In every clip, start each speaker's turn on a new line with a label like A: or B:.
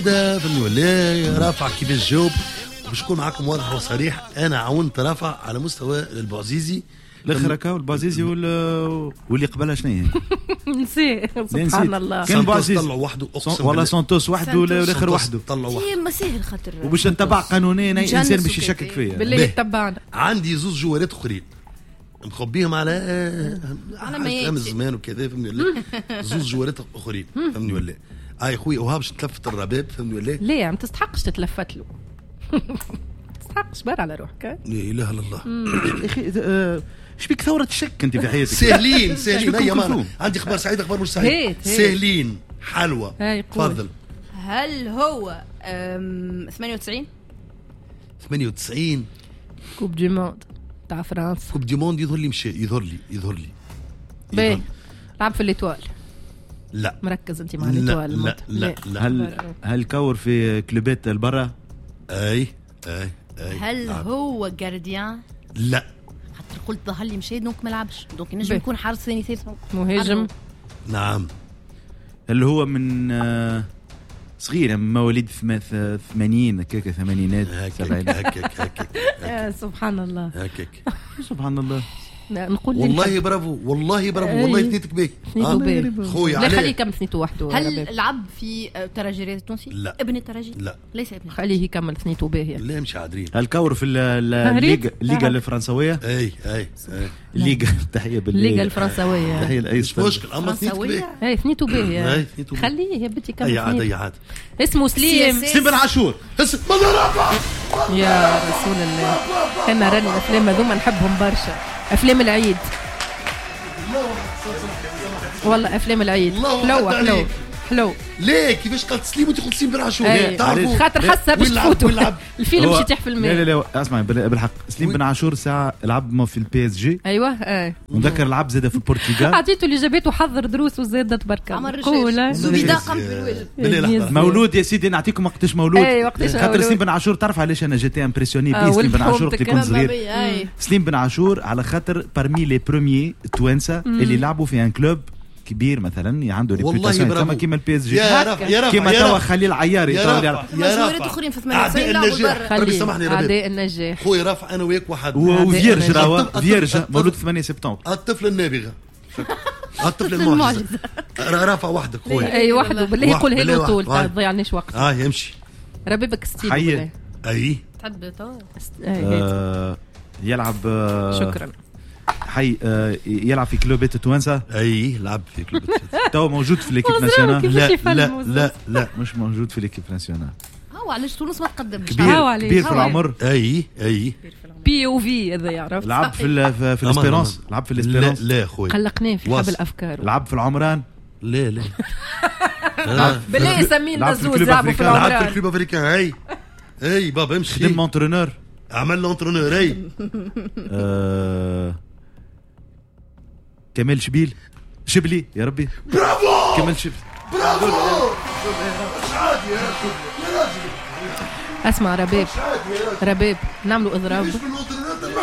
A: فهمني ولا رافع كيفاش جاوب؟ باش نكون معاكم واضح وصريح، انا عاونت رافع على مستوى البعزيزي
B: الاخر هكا، البعزيزي واللي قبلها شنو هي؟
C: نسي، سبحان الله.
B: كان بعزيزي
A: طلعوا وحده، اقسم
B: والله سانتوس وحده والاخر وحده
A: طلعوا وحده.
D: ما ساهل خاطر
B: وباش نتبع قانونيا اي انسان باش يشكك فيا
C: بالله يتبعنا.
A: عندي زوز جوارات اخرين مخبيهم على على الزمان وكذا، فهمني ولا؟ زوز جوارات اخرين، فهمني ولا؟ اي خويا وها باش تلفت الرباب، فهمني ولا؟
C: لا ما تستحقش تتلفت له، تستحقش بار على روحك.
A: لا اله الا الله.
B: يا اخي شبيك ثورة شك انت في حياتك؟
A: ساهلين ساهلين يا مان، عندي اخبار سعيدة اخبار مش سعيدة. ساهلين حلوة، تفضل.
D: هل هو 98؟
A: 98
C: coupe du monde تاع فرنسا.
A: coupe du monde يظهر لي مشى، يظهر لي
C: باهي. لعب في l'Étoile؟
A: لا.
C: مركز انت مع l'Étoile؟
A: لا لا لا.
B: هل كور في كلوبات البرا؟
A: اي اي اي.
D: هل هو gardien؟
A: لا.
D: خاطر قلت ظهر لي مشى donc ما لعبش، donc ينجم يكون حارس ثاني ثالث
C: مهاجم.
A: نعم.
B: هل هو من صغير مواليد 80 هكاك، ثمانينات سبعينات
A: هكاك هكاك؟
C: سبحان الله
A: هكاك،
B: سبحان الله.
C: نقول
A: والله برافو، والله برافو، والله ثنيتك باهي خويا.
C: لا خليه يكمل ثنيته وحده.
D: هل لعب في الترجي التونسي؟
A: لا.
D: ابن الترجي؟
A: لا
D: ليس ابن.
C: خليه يكمل ثنيته باهي.
A: لا مش عادرين.
B: هل كور في الليغا الفرنسويه؟
A: اي اي
B: الليغا، تحية بالليغا
C: الليغا الفرنسويه،
B: تحية لاي
A: مش مشكل، اما ثنيتك باهي.
C: اي ثنيته باهي، خليه يا بنتي يكمل.
A: اي عاد اي عاد.
C: اسمه سليم،
B: سليم بن عاشور.
C: يا رسول الله، انا راني الافلام هذوما نحبهم برشا، افلام العيد. والله افلام العيد حلوة حلو حلو.
A: ليه كيفاش قالت سليم وانت قلت سليم بن عاشور؟
C: تعرفوا خاطر حاسه باش تفوتوا الفيلم باش يطيح في الماء.
B: لا لا لا اسمع بالحق، سليم بن عاشور ساعة لعب في ال PSG.
C: ايوه اي.
B: ونذكر لعب زاد في البرتغال.
C: عطيته اللي جابته وحضر دروس وزاد تبارك
D: الله. زبيده قام
A: بالواجب.
B: مولود يا سيدي، نعطيكم وقتاش مولود. خاطر سليم بن عاشور تعرف علاش انا j'étais impressionné بيه سليم بن عاشور وقت كنت صغير؟ سليم بن عاشور على خاطر parmi les premiers التوانسة اللي لعبوا في un club كبير مثلا عنده réputation كيما ال PSG، كيما توا خليل عياري.
A: يا
D: رافع اخرين في 98 لعبوا برا.
A: ربي سامحني ربي.
C: اعداء النجاح
A: خويا رافع، انا وياك واحد.
B: و vierge راهو vierge مولود 8 سبتمبر.
A: الطفل النابغة، الطفل المعجزة. رافع وحدك خويا.
C: اي وحده بالله يقولها له طول، ما تضيعنيش وقت.
A: يمشي
C: ربيبك ستيل.
A: اي
D: تحب تو
B: يلعب.
C: شكرا.
B: حي يلعب في كلوبات التوانسة.
A: اي لعب في كلوبات.
B: تو موجود في l'équipe nationale؟
A: لا لا لا لا
B: مش موجود في l'équipe nationale.
D: هو علاش تونس ما تقدمش؟
B: كبير في العمر.
A: اي اي
C: بي او في هذا يعرف.
B: لعب في l'Espérance. لعب في l'Espérance.
A: لا خويا
C: قلقناه في حبل الافكار.
B: لعب في العمران.
A: لا لا
C: بالله سمينا زوز لعبوا في العمران.
A: لعب في ال Club Africain. اي اي بابا امشي.
B: خدم entraîneur،
A: عمل l'entraîneur. اي
B: كمال شبيل، شبلي يا ربي.
A: برافو
B: كمال شبلي،
A: برافو. مش عادي يا راجل.
C: اسمع رباب، رباب نعملوا اضراب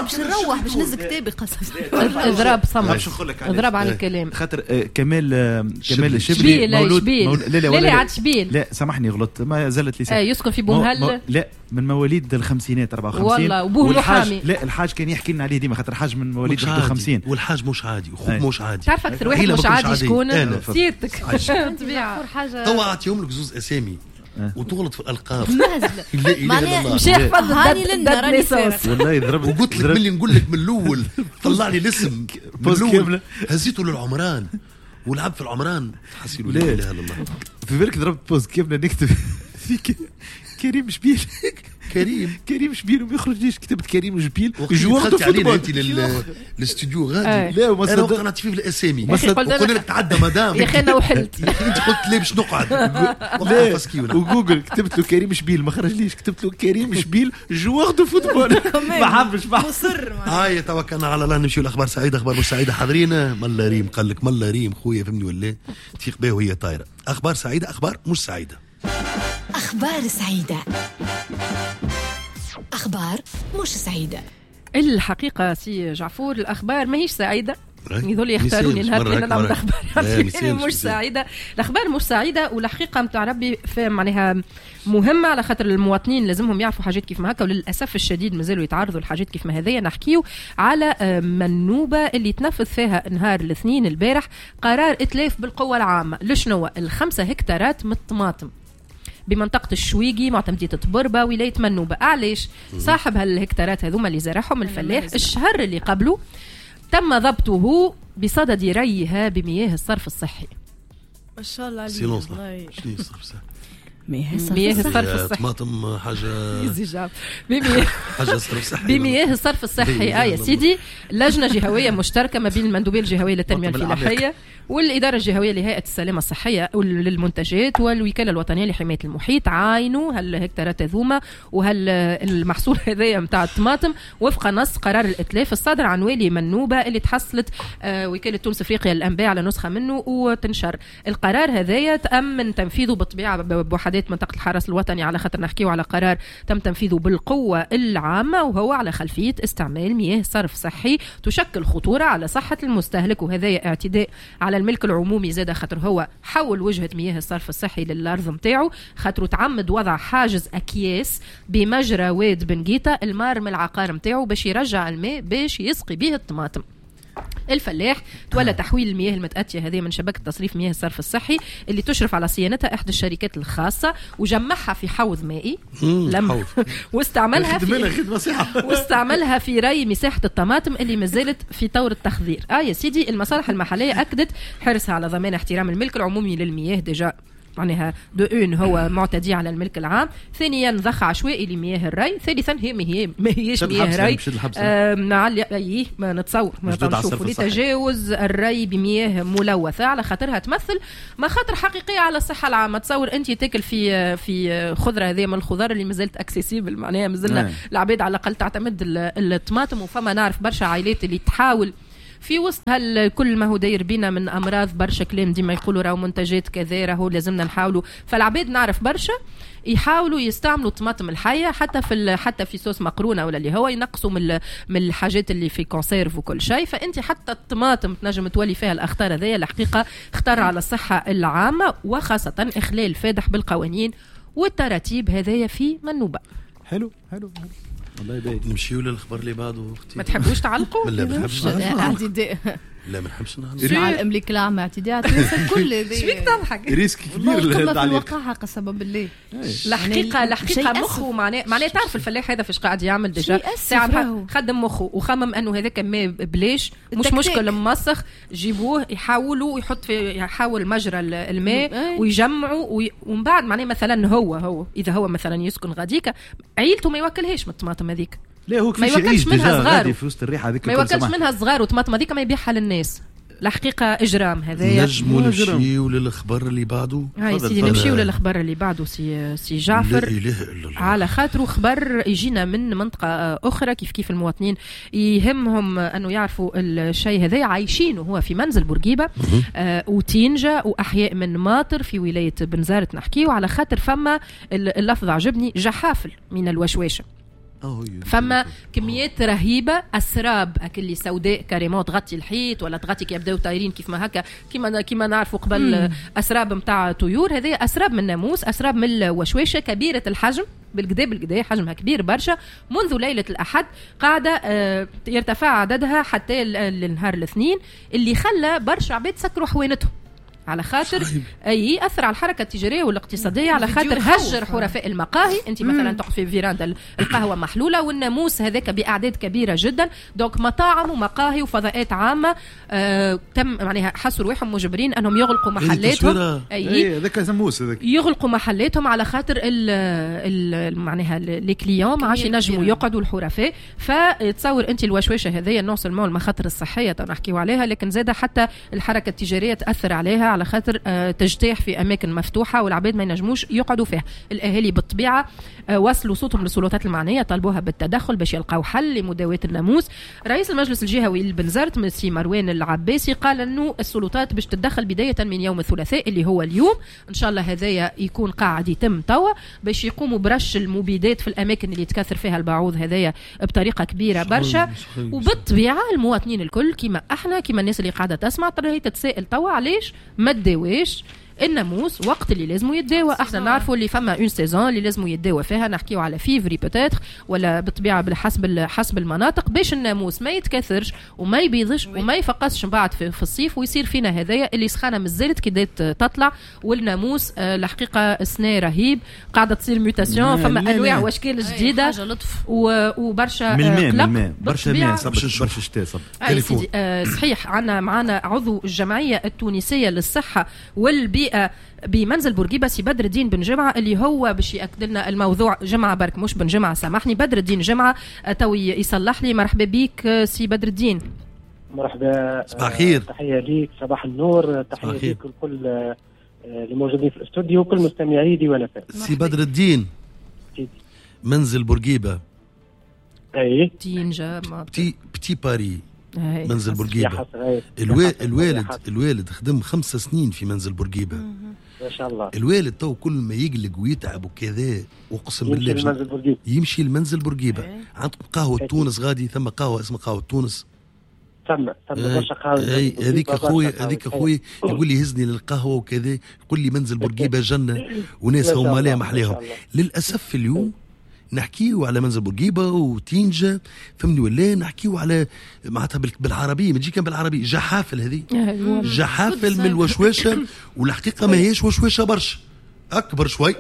D: باش نروح باش نهز كتابي قسم.
C: اضراب صمت، اضراب على الكلام.
B: خاطر كمال شبلي مولود.
C: لا لا لا عاد شبيل.
B: لا سامحني غلطت، ما زلت لساني.
C: يسكن في بومهل.
B: لا من مواليد الخمسينات 54.
C: والله وبوه محامي.
B: لا الحاج كان يحكي لنا عليه ديما خاطر الحاج من مواليد 51.
A: والحاج مش عادي وخوك مش عادي.
C: تعرف اكثر واحد مش عادي شكون؟ سيادتك.
A: توا اعطيهم لك زوز اسامي وتغلط في الالقاب. لا اله الا الله.
C: مش يحفظ date naissance.
B: والله ضربت
A: وقلت لك ملي نقول لك من الاول طلع لي الاسم من الاول هزيته للعمران ولعب في العمران. حسيلو لا اله الا الله.
B: في بالك ضربت pause كيفنا نكتب في كريم شبيل. كريم شبيل وما يخرجليش. كتبت كريم شبيل joueur de football.
A: انت للاستوديو غادي. لا وما صدقت انا في الاسامي وقلنا لك تعدى مدام
C: يا اخي انا وحلت.
A: انت قلت لي باش نقعد
B: وجوجل كتبت له كريم شبيل ما خرجليش. كتبت له كريم شبيل joueur de football. ما حبش
D: مصر.
A: هاي توكلنا على الله نمشيو لاخبار سعيدة اخبار مش سعيدة. حاضرين ملا ريم قال لك ملا ريم خويا فهمني ولا تفيق به وهي طايره. اخبار سعيدة اخبار مش سعيدة.
E: أخبار سعيدة أخبار مش سعيدة.
C: الحقيقة سي جعفور الأخبار ماهيش سعيدة. يظل يختاروني نهار اللي نعمل اخبار مش سعيدة. الاخبار مش سعيدة والحقيقة نتاع ربي معناها مهمة، على خاطر المواطنين لازمهم يعرفوا حاجات كيف ما هكا، وللاسف الشديد مازالوا يتعرضوا لحاجات كيف ما هذيا. نحكيو على منوبه اللي تنفذ فيها نهار الاثنين البارح قرار اتلاف بالقوة العامة لشنو 5 هكتارات من الطماطم بمنطقة الشويقي معتمدية طبربة ولاية منوبة. علاش؟ صاحب هالهكتارات هذوما اللي زرعهم الفلاح الشهر اللي قبله تم ضبطه بصدد ريها بمياه الصرف الصحي.
F: ما شاء الله عليك.
A: شنو الصرف الصحي؟
C: مياه الصرف الصحي
A: طماطم حاجة حاجة صرف صحي
C: بمياه الصرف الصحي. يا سيدي، لجنة جهويه مشتركة ما بين المندوبيه الجهوية للتنمية الفلاحية والادارة الجهوية لهيئة السلامة الصحية للمنتجات والوكالة الوطنية لحماية المحيط عاينوا هالهكتارات هذوما وهالمحصول هذايا نتاع الطماطم وفق نص قرار الاتلاف الصادر عن والي منوبه اللي تحصلت وكالة تونس افريقيا للانباء على نسخه منه وتنشر. القرار هذايا تامن تنفيذه بالطبيعة بوحدات منطقة الحرس الوطني، على خاطر نحكيو على قرار تم تنفيذه بالقوة العامة وهو على خلفية استعمال مياه صرف صحي تشكل خطورة على صحة المستهلك، وهذا اعتداء على الملك العمومي زاد، خاطر هو حول وجهة مياه الصرف الصحي للأرض متاعه، خاطر تعمد وضع حاجز أكياس بمجرى واد بنجيتا المار من العقار متاعه باش يرجع الماء باش يسقي به الطماطم. الفلاح تولى تحويل المياه المتأتية هذه من شبكة تصريف مياه الصرف الصحي اللي تشرف على صيانتها إحدى الشركات الخاصة وجمعها في حوض مائي لم واستعملها في واستعملها في ري مساحة الطماطم اللي مازالت في طور التخضير. يا سيدي، المصالح المحلية أكدت حرصها على ضمان احترام الملك العمومي للمياه، déjà معناها de un هو معتدي على الملك العام، ثانيا ضخ عشوائي لمياه الري، ثالثا هي ما هيش مياه ري اي ما نتصور ما نشوفوا لتجاوز الري بمياه ملوثة على خاطرها تمثل مخاطر حقيقية على الصحة العامة. تصور انت تاكل في خضرة هذه من الخضار اللي مازالت accessible، معناها مازلنا العباد على الاقل تعتمد الطماطم، وفما نعرف برشا عائلات اللي تحاول في وسط كل ما هو داير بينا من امراض، برشا كلام ديما يقولوا راهو منتجات كذا راهو لازمنا نحاولوا، فالعباد نعرف برشا يحاولوا يستعملوا الطماطم الحية حتى في صوص مقرونة ولا اللي هو ينقصوا من الحاجات اللي في conserve وكل شيء. فانت حتى الطماطم تنجم تولي فيها الاخطار هذيا، الحقيقة خطر على الصحة العامة وخاصة اخلال فادح بالقوانين والتراتيب هذايا في منوبه.
B: حلو حلو حلو والله باهي.
A: نمشيو للخبر اللي بعده اختي.
C: ما تحبوش تعلقوا؟
A: لا ما نحبش.
F: اعتداء.
A: لا ما نحبش نعلق.
F: على الاملاك العامة اعتداء على الكل.
C: شبيك تضحك؟
B: risque كبير
F: للتعليق. الوقاحة قسما بالله.
C: الحقيقة مخه معناه تعرف الفلاح هذا فاش قاعد يعمل déjà ساعة خدم مخه وخمم انه هذاك ما بلاش مش مشكل مسخ جيبوه يحاولوا يحط في يحاول مجرى الماء ويجمعوا ومن بعد معناه مثلا هو اذا هو مثلا يسكن غاديكا عيلته ما يوكلهاش من الطماطم هذيك.
B: لا هو ما
C: يوكلش منها صغار
B: في وسط الريحة هذيك،
C: ما يوكلش منها الصغار وطماطم هذيك ما يبيعها للناس. الحقيقة اجرام هذايا.
A: نجموا نمشيو للخبر اللي بعده.
C: هاي سيدي نمشيو للخبر اللي بعده سي جعفر.
A: لا اله الا الله.
C: على خاطره خبر يجينا من منطقة اخرى، كيف كيف المواطنين يهمهم انه يعرفوا الشيء هذا، عايشينه هو في منزل بورقيبة وتينجا واحياء من ماطر في ولاية بنزارت نحكيو، على خاطر فما اللفظ عجبني جحافل من الوشواشه. فما كميات رهيبة اسراب اكل سوداء carrément تغطي الحيط ولا تغطي كي يبداو طايرين كيف ما هكا كيما نعرفوا قبل اسراب نتاع طيور. هذه اسراب من الناموس، اسراب من الوشواشه كبيرة الحجم بالكدا بالكدا، حجمها كبير برشا. منذ ليلة الاحد قاعدة يرتفع عددها حتى النهار الاثنين، اللي خلى برشا عباد سكروا حوانتهم على خاطر اي اثر على الحركة التجارية والاقتصادية، على خاطر هجر حرفاء المقاهي. انت مثلا تقف في فيراندا القهوة محلولة والناموس هذاك باعداد كبيرة جدا، donc مطاعم ومقاهي وفضاءات عامة تم معناها حسوا رواحهم مجبرين انهم يغلقوا محلاتهم.
B: اي هذاك ناموس هذاك
C: يغلقوا محلاتهم على خاطر ال معناها les clients ما عادش ينجموا يقعدوا الحرفاء. فتصور انت الوشواشه هذيا non seulement المخاطر الصحية نحكيو عليها، لكن زاده حتى الحركة التجارية تاثر عليها، على خاطر تجتاح في اماكن مفتوحة والعباد ما ينجموش يقعدوا فيها. الاهالي بالطبيعة وصلوا صوتهم للسلطات المعنية، طالبوها بالتدخل باش يلقاو حل لمداواه الناموس. رئيس المجلس الجهوي لبنزرت سي مروان العباسي قال انه السلطات باش تتدخل بداية من يوم الثلاثاء اللي هو اليوم، ان شاء الله هذايا يكون قاعد يتم توا، باش يقوموا برش المبيدات في الاماكن اللي تكاثر فيها البعوض هذايا بطريقة كبيرة برشا. وبالطبيعه المواطنين الكل كيما احنا كيما الناس اللي قاعدة تسمع ترى تتساءل توا علاش ما تداواش الناموس وقت اللي لازم يتداوى. احنا نعرفوا اللي فما une saison اللي لازم يتداوى فيها، نحكيو على فيفري peut-être ولا بالطبيعة بالحسب حسب المناطق، باش الناموس ما يتكاثرش وما يبيضش وما يفقسش من بعد في الصيف ويصير فينا هذايا اللي سخانه مازالت كي بدات تطلع. والناموس الحقيقة السنة رهيب، قاعدة تصير mutation، فما انواع واشكال جديدة وبرشا
B: قلق، برشا ماء، برشا شتاء.
C: صحيح. عندنا معنا عضو الجمعية التونسية للصحة والبيئة بمنزل بورقيبة سي بدر الدين بن جمعه، اللي هو باش ياكد لنا الموضوع. جمعه برك مش بن جمعه، سامحني، بدر الدين جمعه تو يصلح لي. مرحبا بك سي بدر الدين.
G: مرحبا،
A: صباح الخير.
G: تحية ليك، صباح النور، تحية ليك ولكل الموجودين في الاستوديو وكل مستمعي ديوان FM.
A: سي بدر الدين، منزل بورقيبة،
G: اي
A: petit Paris، منزل بورقيبة. الوالد خدم 5 سنين في منزل بورقيبة.
G: ما شاء الله.
A: الوالد تو كل ما يقلق ويتعب وكذا اقسم بالله يمشي لمنزل بورقيبة. عندكم قهوة تونس غادي، ثم قهوة اسمها قهوة تونس،
G: ثم برشا قهوة.
A: هذيك اخويا، هذيك اخويا يقول لي هزني للقهوة وكذا، يقول لي منزل بورقيبة جنة وناس هما لها محليهم. للأسف اليوم نحكيو على منزل بورقيبة وتينجا، فهمني ولا نحكيو على معناتها بالعربية، ما تجي كان بالعربية جحافل، هذه جحافل من الوشوشه، والحقيقة ما هيش وشوشه برشا، اكبر شوي،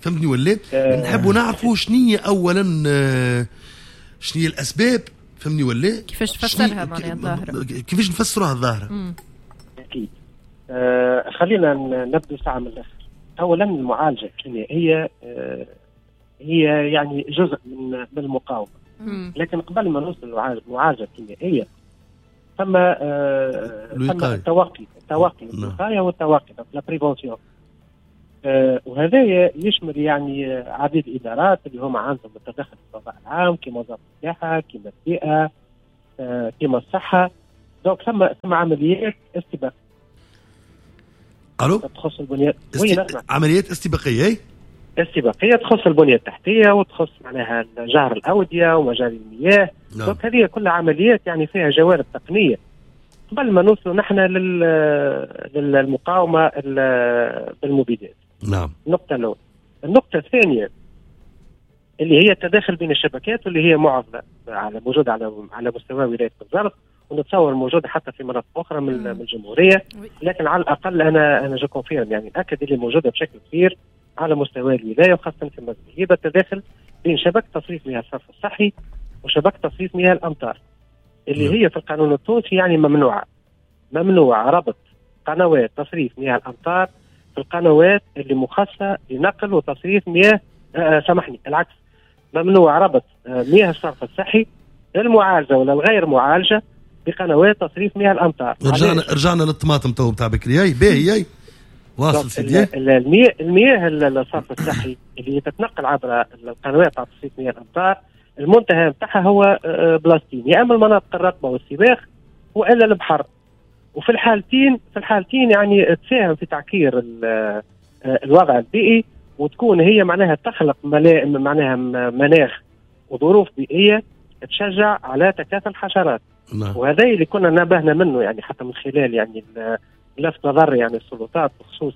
A: فهمتني ولا؟ نحبوا نعرفوا شنية اولا، شنية الاسباب، فهمني ولا؟
C: كيفاش تفسرها معناها الظاهرة،
A: كيفاش نفسروها الظاهرة؟
G: اكيد. خلينا نبدو ساعة من الاخر. اولا المعالجة الكيميائية هي يعني جزء من المقاومة، لكن قبل ما نوصل للمعالجه الكيميائية ثم التوقي، الوقاية والتوقي، la prévention. وهذا يشمل يعني عديد الادارات اللي هما عندهم التدخل في الفضاء العام، كما وزارة السياحة، كما البيئة، كما الصحة. donc ثم عمليات استباقية.
A: الو،
G: تخص البنيات.
A: عمليات استباقية،
G: استباقية تخص البنية التحتية وتخص معناها جهر الاودية ومجاري المياه. نعم. هذه كلها عمليات يعني فيها جوانب تقنية قبل ما نوصلوا نحن للمقاومة بالمبيدات.
A: نعم.
G: النقطة الاولى. النقطة الثانية اللي هي التداخل بين الشبكات، واللي هي معضلة على موجودة على مستوى ولاية بنزرت، ونتصور موجودة حتى في مناطق اخرى من الجمهورية، لكن على الاقل انا je confirme يعني اكد اللي موجودة بشكل كبير على مستوى الولاية وخاصة في منزل بورقيبة، التداخل بين شبكة تصريف مياه الصرف الصحي وشبكة تصريف مياه الامطار، اللي هي في القانون التونسي يعني ممنوع ربط قنوات تصريف مياه الامطار في القنوات اللي مخصصة لنقل وتصريف مياه سامحني العكس، ممنوع ربط مياه الصرف الصحي المعالجة ولا الغير معالجة بقنوات تصريف مياه الامطار.
A: رجعنا للطماطم تو بتاع بكري. اي باهي، اي واصل سيدي.
G: المياه الصرف الصحي اللي تتنقل عبر القنوات تاع تصريف مياه الامطار المنتهى نتاعها هو بلاستين، يا اما المناطق الرطبة والسباخ والا البحر. وفي الحالتين يعني تساهم في تعكير الوضع البيئي، وتكون هي معناها تخلق معناها مناخ وظروف بيئية تشجع على تكاثر الحشرات.
A: نعم.
G: وهذا اللي كنا نبهنا منه يعني حتى من خلال يعني لفت نظر يعني السلطات بخصوص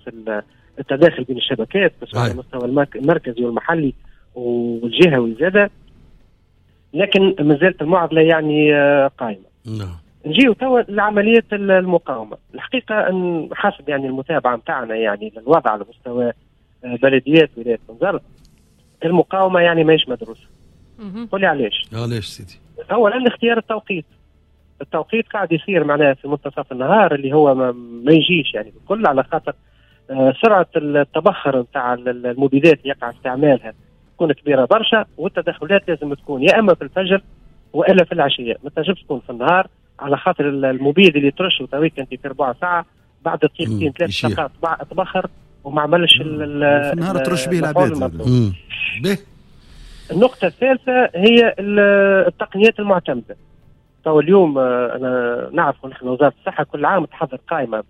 G: التداخل بين الشبكات، بس على المستوى المركزي والمحلي والجهوي زاده، لكن ما زالت المعضلة يعني قائمة.
A: نعم.
G: نجيو توا لعملية المقاومة. الحقيقة ان حسب يعني المتابعة نتاعنا يعني للوضع على مستوى بلديات ولاية بنزرت، المقاومة يعني ماهيش مدروسة. قولي علاش؟
A: علاش سيدي؟
G: اولا اختيار التوقيت. التوقيت قاعد يصير معناها في منتصف النهار اللي هو ما يجيش يعني بالكل، على خاطر سرعة التبخر نتاع المبيدات اللي يقع استعمالها تكون كبيرة برشا، والتدخلات لازم تكون يا اما في الفجر والا في العشية، ما تنجمش تكون في النهار على خاطر المبيد اللي ترشه تويك انت في ربع ساعة بعد دقيقتين 3 دقائق تبخر وما عملش
B: النهار ترش به العباد.
G: النقطة الثالثة هي التقنيات المعتمدة. تو اليوم أنا نعرف نحن وزارة الصحة كل عام تحضر قائمة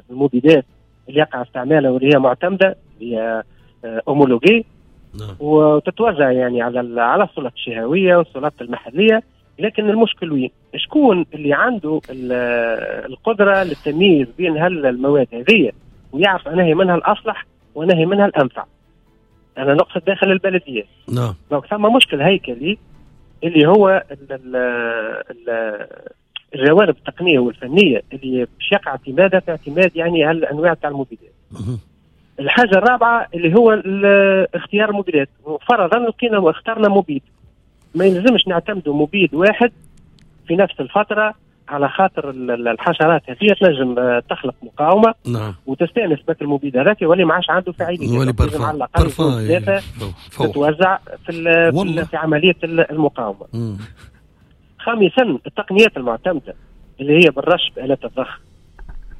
G: بالمبيدات اللي يقع استعمالها واللي هي معتمدة، هي homologuée، وتتوزع يعني على السلطات الجهوية والسلطات المحلية. لكن المشكل وين؟ شكون اللي عنده القدرة للتمييز بين هالمواد هذه ويعرف أنهي منها الأصلح وأنهي منها الأنفع؟ أنا نقصد داخل البلدية. نعم. donc ثم مشكل هيكلي اللي هو الجوانب التقنية والفنية اللي باش يقع اعتمادها في اعتماد يعني هالأنواع تاع المبيدات. الحاجة الرابعة اللي هو اختيار المبيدات. فرضا لقينا واخترنا مبيد، ما يلزمش نعتمدوا مبيد واحد في نفس الفترة، على خاطر الحشرات هذه تنجم تخلق مقاومة. نعم. وتستانس بك المبيد هذاك يولي ما عادش عنده فاعلية،
A: يولي
G: بارفان تتوزع في عملية المقاومة. خامسا التقنيات المعتمدة اللي هي بالرش بآلات الضخ.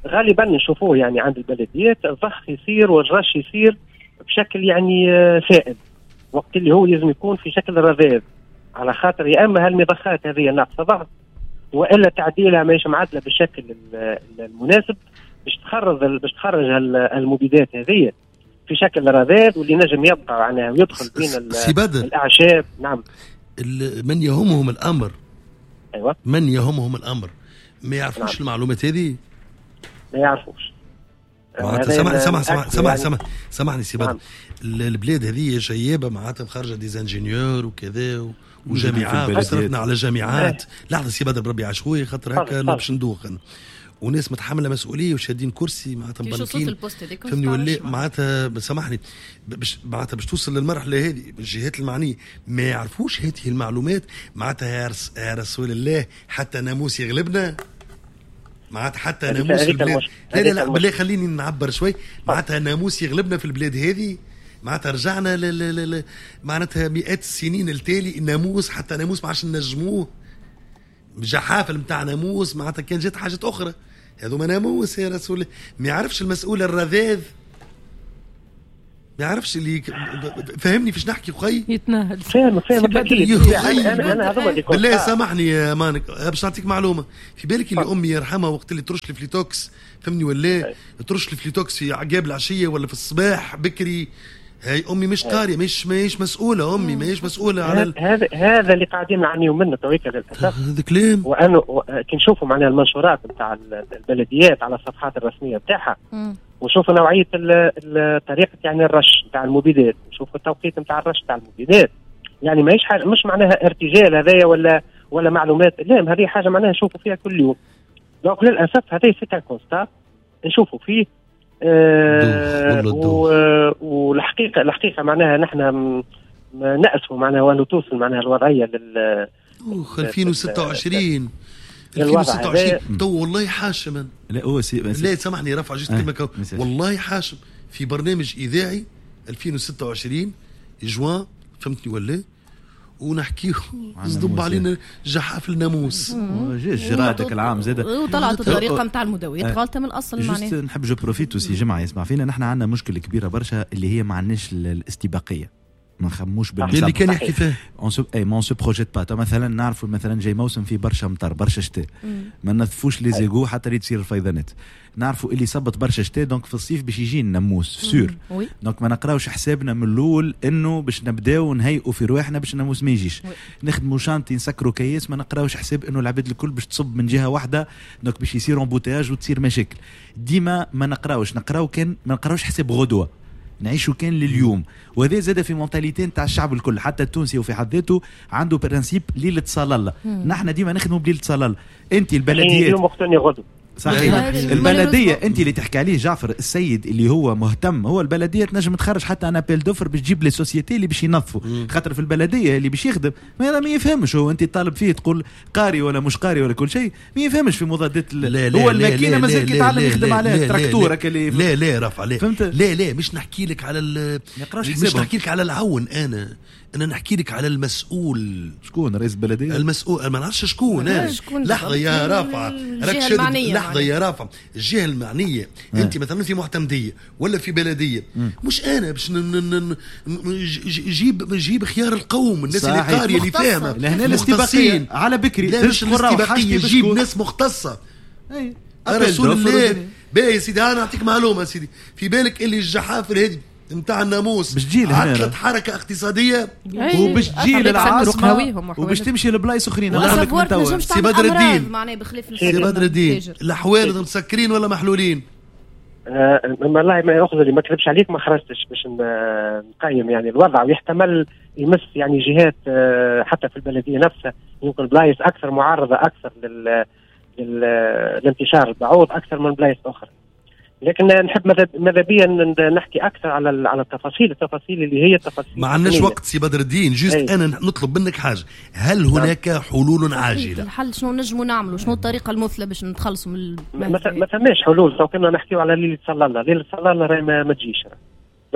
G: غالبا نشوفوه يعني عند البلديات الضخ يصير والرش يصير بشكل يعني سائل، وقت اللي هو لازم يكون في شكل رذاذ، على خاطر يا اما هالمضخات هذه ناقصه ضغط والا تعديلها ماهيش معدله بالشكل المناسب باش تخرج المبيدات هذه في شكل رذاذ واللي نجم يبقى معناها ويدخل بين الاعشاب. نعم.
A: من يهمهم الامر،
G: ايوه،
A: من يهمهم الامر ما يعرفوش. نعم. المعلومات هذه
G: ما يعرفوش.
A: سامحني سامحني سامحني سامحني سي بدر، البلاد هذه شيابه معناتها خارجه des ingénieurs وكذا وجامعات، صرفنا على جامعات. لحظة سي بدر بربي عشوائي خاطر هكا باش ندوخ، وناس متحملة مسؤولية وشادين كرسي معناتها مبنكين، فهمني ولا معناتها سامحني باش معناتها باش توصل للمرحلة هذه الجهات المعنية ما يعرفوش هذه المعلومات. معناتها يا رسول الله حتى ناموس يغلبنا، معناتها حتى ناموس البلاد. لا لا لا بالله خليني نعبر شوي. معناتها ناموس يغلبنا في البلاد هذه، معناتها رجعنا معناتها مئات السنين التالي. الناموس حتى ناموس ما عادش نجموه، جحافل نتاع ناموس معناتها كان جات حاجات اخرى، هذوما ناموس يا رسول الله. ما يعرفش المسؤول الرذاذ، ما يعرفش اللي فهمني فاش نحكي خويا
C: يتنهد.
G: فاهم انا هذوما اللي
A: بالله سامحني يا مانك باش نعطيك معلومة. في بالك اللي امي يرحمها وقت اللي ترش الفليتوكس، فهمني ولا ترش الفليتوكس في عقاب العشية ولا في الصباح بكري، هاي امي مش قارية، مش مسؤولة، امي ماهيش مسؤولة على
G: هذا اللي قاعدين نعانيو منه تويكا للاسف.
A: هذا كلام.
G: وانه كي نشوفوا معناها المنشورات نتاع البلديات على الصفحات الرسمية نتاعها، ونشوفوا نوعية طريقه يعني الرش نتاع المبيدات، نشوفوا التوقيت نتاع الرش نتاع المبيدات، يعني ماهيش حاجة مش معناها ارتجال هذايا ولا معلومات، لا هذه حاجة معناها نشوفوا فيها كل يوم. donc للاسف هذا c'est un constat نشوفوا فيه. والحقيقة معناها نحن نأسف معناها وأنه توصل معناها الوضعية لل
A: 2026 تو والله حاشم.
B: لا هو
A: لا سامحني رفع juste كلمة، والله حاشم في برنامج اذاعي 2026 جوان، فهمتني ولا؟ ونحكيه صدب علينا جحاف الناموس
B: جرادك العام زاد،
F: وطلعت الطريقة نتاع المداويات غلطه من الاصل.
B: معناها juste نحب je profite aussi جمعه يسمع فينا، نحن عندنا مشكلة كبيرة برشا اللي هي ما عندناش الاستباقيه، ما نخموش
A: بالمسابقه اللي كان يحكي فيه
B: اي ما se projette pas. مثلا نعرفوا مثلا جاي موسم فيه برشا مطر برشا شتاء، ما نظفوش les égouts حتى اللي تصير الفيضانات. نعرفوا اللي صبت برشا شتاء donc في الصيف باش يجي الناموس sûr، donc ما نقراوش حسابنا من الاول انه باش نبداو نهيئوا في رواحنا باش الناموس ما يجيش. نخدموا chantier نسكروا كياس، ما نقراوش حساب انه العباد الكل باش تصب من جهة واحدة donc باش يصير embouteillage وتصير مشاكل. ديما ما نقراوش، نقراو كان ما نقراوش حساب غدوه، نعيشوا كان لليوم. وهذا زاد في mentalité نتاع الشعب الكل، حتى التونسي وفي حد ذاته عنده principe ليلة صلاله. نحن ديما نخدموا بليلة صلاله. انت البلديات
G: اليوم وقتني غدوه
B: صحيح. البلدية انت اللي تحكي عليه جعفر السيد اللي هو مهتم، هو البلدية تنجم تخرج حتى un appel d'offres باش تجيب les sociétés اللي باش ينظفوا، خاطر في البلدية اللي باش يخدم ما يفهمش هو، انت طالب فيه تقول قاري ولا مش قاري ولا كل شيء، ما يفهمش في مضادات هو الماكينة مازال كيتعلم يخدم عليها التراكتور
A: اللي لا لا رفع لا لا لا مش نحكي لك على مش نحكي لك على العون، انا نحكي لك على المسؤول.
B: شكون رئيس البلدية؟
A: المسؤول ما نعرفش شكون. لحظة يا رافعه، راك شادد لحظة يا رافع، الجهة المعنية انت مثلا في معتمديه ولا في بلديه، مش انا باش جيب خيار القوم، الناس اللي قارية اللي فاهمه.
B: لهنا الاستباقيه على بكري،
A: لا مش الاستباقيه، جيب ناس مختصة. رسول الله. باهي يا سيدي، انا نعطيك معلومة سيدي، في بالك اللي الجحافل هذه نتاع الناموس
B: باش تجي
A: عطلت حركة اقتصادية
B: وباش تجي للعاصمه وباش تمشي لبلايص اخرين.
A: سي بدر الدين، سي بدر الدين، الحوانت مسكرين ولا محلولين؟
G: والله ما ياخذ اللي ما كذبش عليك، ما خرجتش باش نقيم يعني الوضع، ويحتمل يمس يعني جهات حتى في البلدية نفسها، يمكن بلايص اكثر معرضه اكثر للانتشار البعوض اكثر من بلايص اخرى. لكن نحب ماذا بيا نحكي اكثر على التفاصيل اللي هي التفاصيل.
A: ما عندناش وقت سي بدر الدين، juste انا نطلب منك حاجة، هل هناك حلول عاجله؟
D: الحل شنو نجموا نعملوا؟ شنو الطريقة المثلى باش نتخلصوا من
G: ما ثماش حلول. تو كنا نحكيو على ليلة صلى الله، ليلة صلى الله راهي ما تجيش.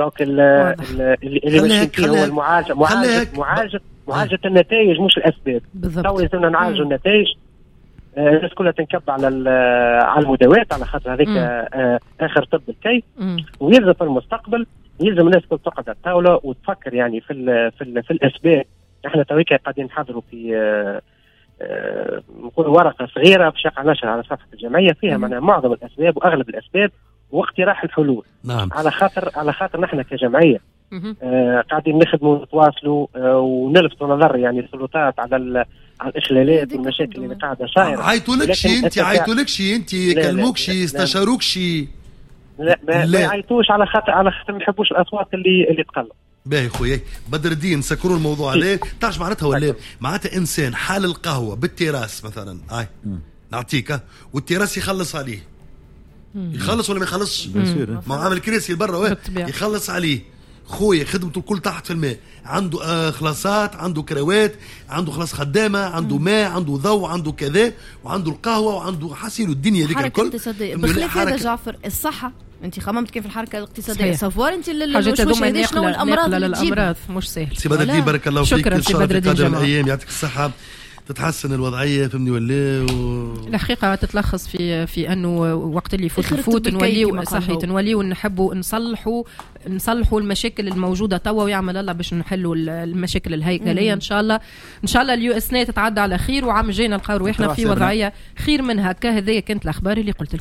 G: donc اللي ماشيين فيه هو المعالجة، معالجة معالجة النتائج مش الاسباب. تو لازمنا نعالجوا النتائج. الناس كلها تنكب على المداوات على خاطر هذيك اخر طب الكي. ويلزم في المستقبل يلزم الناس كل تقعد على الطاولة وتفكر يعني في ال في ال في الاسباب. احنا تويكا قاعدين نحضروا في نقول ورقة صغيرة باش يقع نشر على صفحة الجمعية فيها معناها معظم الاسباب واغلب الاسباب واقتراح الحلول.
A: نعم.
G: على خاطر نحن كجمعية قاعدين نخدموا ونتواصلوا ونلفتوا نظر يعني السلطات على الاخلالات والمشاكل اللي قاعدة صايرة.
A: عيطولكش انت، عيطولكش انت، كلموكش، استشاروكش؟
G: لا ما يعيطوش على خاطر ما يحبوش الاصوات اللي تقلق.
A: باهي خويا بدر الدين، سكروا الموضوع عليه. تعرف معناتها ولا؟ معناتها انسان حال القهوة بالتراس مثلا، هاي نعطيك، والتراس يخلص عليه. يخلص ولا ما يخلصش؟ ما عامل كراسي برا يخلص عليه. خويا خدمته الكل تحت في الماء، عنده خلاصات، عنده كروات، عنده خلاص خدامه، عنده ماء، عنده ضوء، عنده كذا، وعنده القهوة، وعنده حسيل الدنيا ديك الكل.
D: بخلاف هذا جعفر، الصحة انت خممت كيف الحركة الاقتصادية savoir انت الوشوش شنو الامراض اللي تجيب
C: الامراض مش سهل.
A: سي بدر الدين بارك الله فيك،
C: شكرا سي بدر الدين،
A: قادم الايام يعطيك الصحة، تتحسن الوضعية فهمني ولا
C: الحقيقة تتلخص في انه وقت اللي يفوت الفوت نوليو صحيح، نوليو نحبوا نصلحوا المشاكل الموجودة توا، ويعمل الله باش نحلوا المشاكل الهيكلية. ان شاء الله ان شاء الله اليو اسنه تتعدى على خير، وعام الجاي نلقاو رواحنا في وضعية خير من هكا. هذه كانت الاخبار اللي قلت لكم.